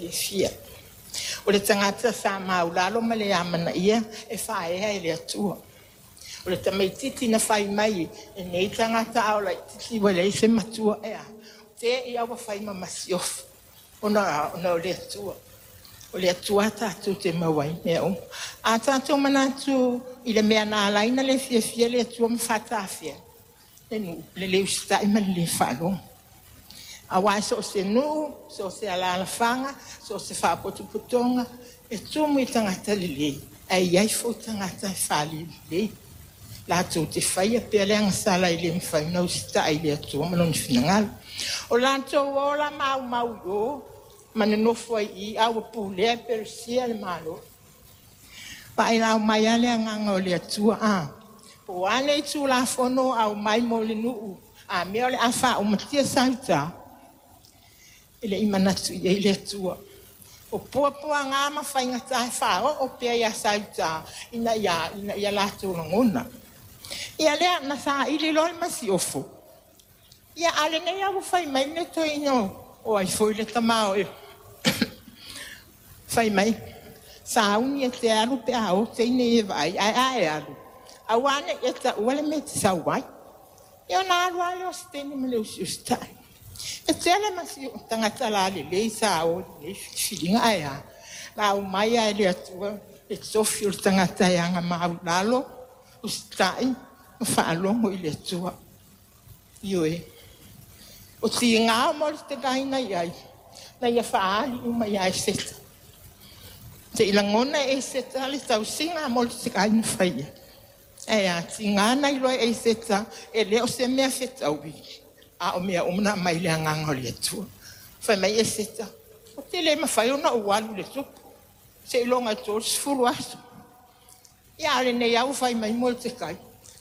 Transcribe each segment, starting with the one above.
fiafia. O le tagata sa maulalo ma le amanaia e faaea e le Atua. O le tamaitiiti na fai mai e nei tagata a o laitiiti ua leai se matua e a, te i a ua fai ma masiofo ona o le Atua. O le Atua tatou te maua ai mea uma. A tatou manatu i le mea na ala ai ona le fiafia le Atua ma faatafea, le nuu, le le usitai ma le le faalogo. Aua e so o se nuu, so o se alaalafaga, so o se faapotopotoga, e tumu i tagata lelei, ae i ai foi tagata e falelelei. Latou te faia pea le agasala e le mafai ona usitai i le Atua ma Lona finagalo. O latou ola maumau i o ma nonofo ai i i, a ua pulea e Peresia le Malo. Faailau mai lava le agaga o le Atua, a? Po o a nei Tulafono aumai mo le nuu, a mea o le a faaumatia Saute, e le i manatu i ai le Atua. O puapuaga ma faigata e faaoo pea ia Saute ina ia latou lagona. Ia lea, na saili loa le masiofo. Ia, a o lenei lava ua fai mai le toeaina o ai foi le tama o fai mai, sauni e te alu pe a o teine ia e vaai, ae a e alu, aua ne i e taua le mea e te sau ai. Ia ona alu lava lea o si teine ma le usiusitai. E tele tagata lalelei sa o i lenei filifiliga, ae a? Na aumai lava e le Atua le tofi o le tagata e aga maualalo, usitai ma faalogo i le Atua. Ioe. O tiga o Molitekai na i ai, na ia faaali uma ia Eseta. Se i lagona e Eseta le tausiga a Molitekai na faia. Ae a tiga na iloa e Eseta, e le o se mea fetaui, a o mea uma na aumai le agaga o le Atua. Fai mai Eseta, ou te le mafai ona ou alu i le tupu, seiloga e 30 aso. Ia, a o lenei lava ua fai mai Molitekai,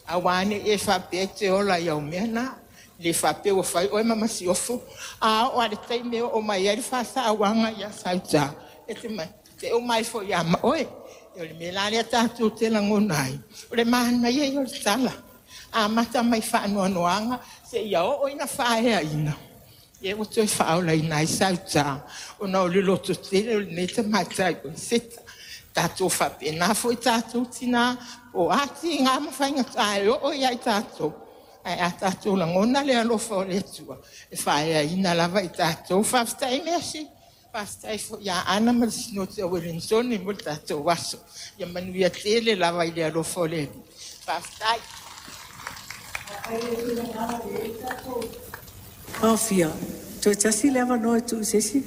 aua ne i e faapea e te ola i au mea na, le faapea ua fai oe ma masiofo, a oo lava i le taimi e oo mai ai le faasauaga ia Saute, e te uma ai foi ia ma oe. O le mea la lea tatou te lagona ai, o le manaia ia o le tala, amata mai faanoanoaga seia oo ina faaeaina, ia ua toe faaolaina ai Saute ona o le lototele o lenei tamaitai o Eseta. Tatou faapena foi tatou tina, po o a tiga ma faigata e oo ia i tatou, ae a tatou lagona le alofa o le Atua, e faaeaina lava i tatou. Faafetai Mercy, faafetai foi ia Ana ma le Sinoti a Ueligitone mo le tatou aso. Ia manuia tele lava i le alofa o le Alii. Faafetai. Aofia, toe tasi le avanoa e tuu i se isi.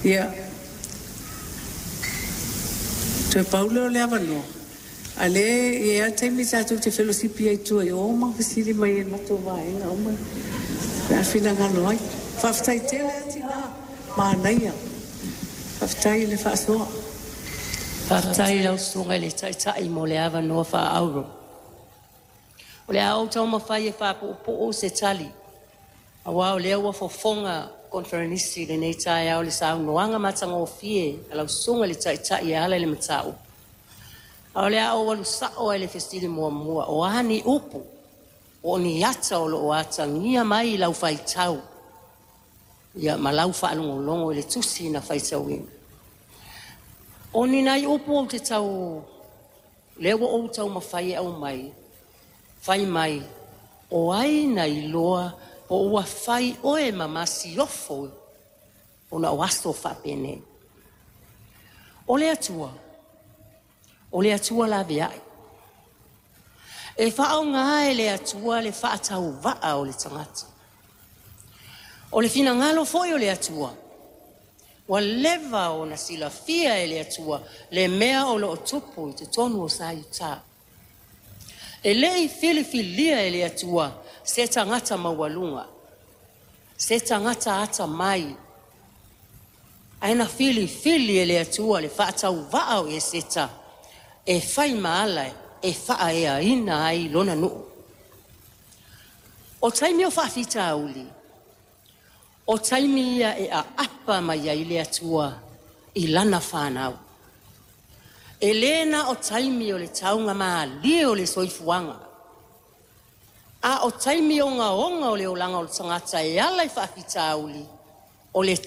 Ia, toe pau lea o le avanoa, a o lea e i ai lava le taimi tatou te felosipi ai i tua i o ma fesili mai ai i le matou vaega uma pe a finagalo ai. Faafetai tele lava tina, manaia. Faafetai i le faasoa. Faafetai i lau Susuga i le Taitai mo le avanoa faaauro. O le a ou taumafai e faapuupuu se tali, aua o lea ua fofoga koneferenisi i lenei taeao i le saunoaga matagofie a lau Susuga i le Taitai e ala i le mataupu. A o le a ou alu sao lava i le fesili muamua, o a ni upu, po o ni ata o lo o atagia mai i lau faitau ia ma lau faalogologo i le tusi na faitauina. O ni nai upu ou te tau, lea ua ou taumafai e aumai, fai mai, o ai na iloa po ua fai oe ma masiofo ona o aso faapenei. O le Atua, o le Atua laveai. E faaaoga e le Atua le faatauvaa o le tagata. O le finagalo foi o le Atua, ua leva ona silafia e le Atua le mea o lo o tupu i totonu o Saiuta. E le i filifilia e le Atua se tagata maualuga, se tagata atamai, ae na filifili e le Atua le faatauvaa o Eseta e fai ma ala e faaeaina ai lona nuu. O taimi o faafitauli, o taimi ia e aapa mai ai le Atua i lana fanau. E le na o taimi o le taugamalie o le soifuaga, a o taimi ogaoga o le olaga o le tagata e ala i faafitauli, o le